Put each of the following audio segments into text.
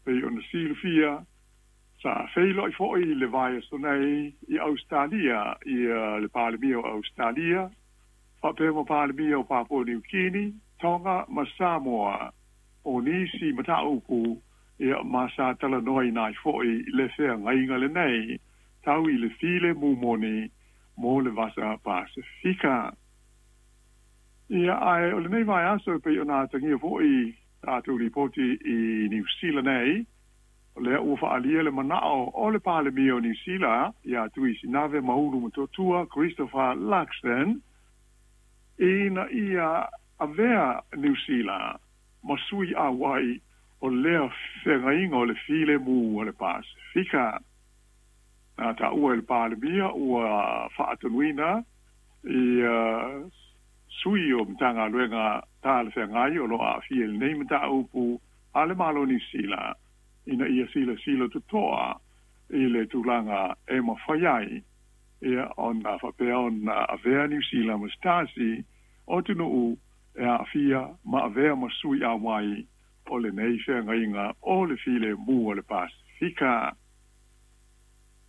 Pei ona silafia, sa feiloai fo'i i le vaiaso nei i Ausetalia ia le Palemia o Ausetalia faapea ma Palemia o Papua Niu Kini, Tonga ma Samoa. O nisi mataupu ia ma sa talanoaina ai fo'i le feagaiga lenei tau i le filemu moni mo le Vasa Pasefika. Ia, ae o lenei vaiaso e pei ona atagia fo'i tatou lipoti i Niu Sila nei, o lea ua faaalia le manao o le Palemia o Niu Sila ia Tuisinave Maulu Motootua Christopher Luxon ina ia avea Niu Sila ma sui auai o lea feagaiga o le filemu o le Pasefika. Na taua e le Palemia ua faatonuina ia sui o Matagaluega talafeagai o lo o aafia i lenei mataupu a le Malo o Niu Sila ina ia silasila totoa i le tulaga e mafai ai ia ona faapea ona avea Niu Sila ma se tasi o atunuu e aafia ma avea ma sui auai o lenei feagaiga o le filemu o le Pasefika.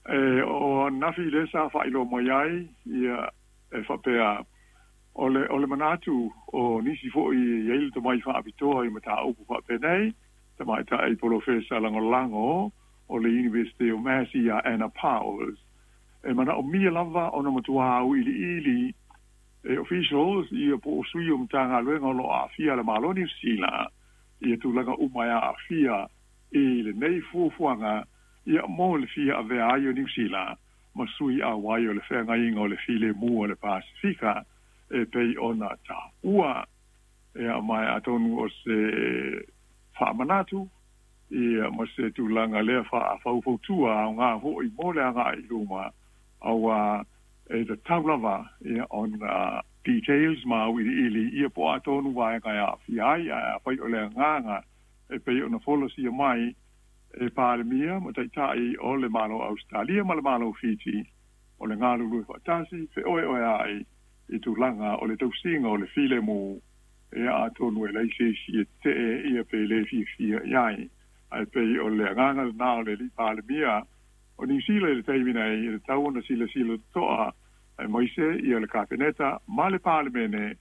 E o ananafi lea sa faailoa mai ai ia e faapea o le o le manatu o nisi foi e i ai le tomai faapitoa i mataupu faapenei, tamaitai polofesa lagolago o le Iunivesite o Massey ia Anna Powers, e manaomia lava ona matua auiliili e officials ia po o sui o Matagaluega o lo o aafia a le Malo o Niu Sila ia tulaga uma e aafia i lenei fuafuaga ia mo le fia avea ai o Niu Sila ma sui auai o le feagaiga o le filemu o le Pasefika e pei ona taua. Ia ma atonu o se faamanatu ia ma se tulaga lea faafaufautua aoga foi mo le agai i luma, auā e tatau lava ia ona details ma auiliili ia po o a tonu vaega e aafia ai. Ae afai o le agaga e pei ona folasia mai e Palemia ma Taitai o le Malo o Ausetalia ma le Malo o Fiti, o le galulue faatasi feoeoea'i i tulaga o le tausiga o le filemu, ia atonu e leai se isi e tetee ia pe le fiafia i ai. Ae pei o le agaga lena o le Alii Palemia o Niu Sila i le taimi nei, e tatau ona silasila totoa aemaise ia le Kapeneta ma le Palemene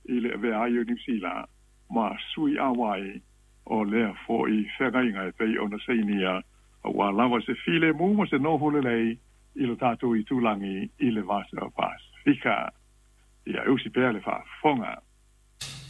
i le avea ai o Niu Sila ma sui auai o lea foi feagaiga e pei ona sainia aua lava se filemu ma se nofo lelei i lo tatou itulagi i le Vasa Pasefika. Ia e usi pea le faafofoga.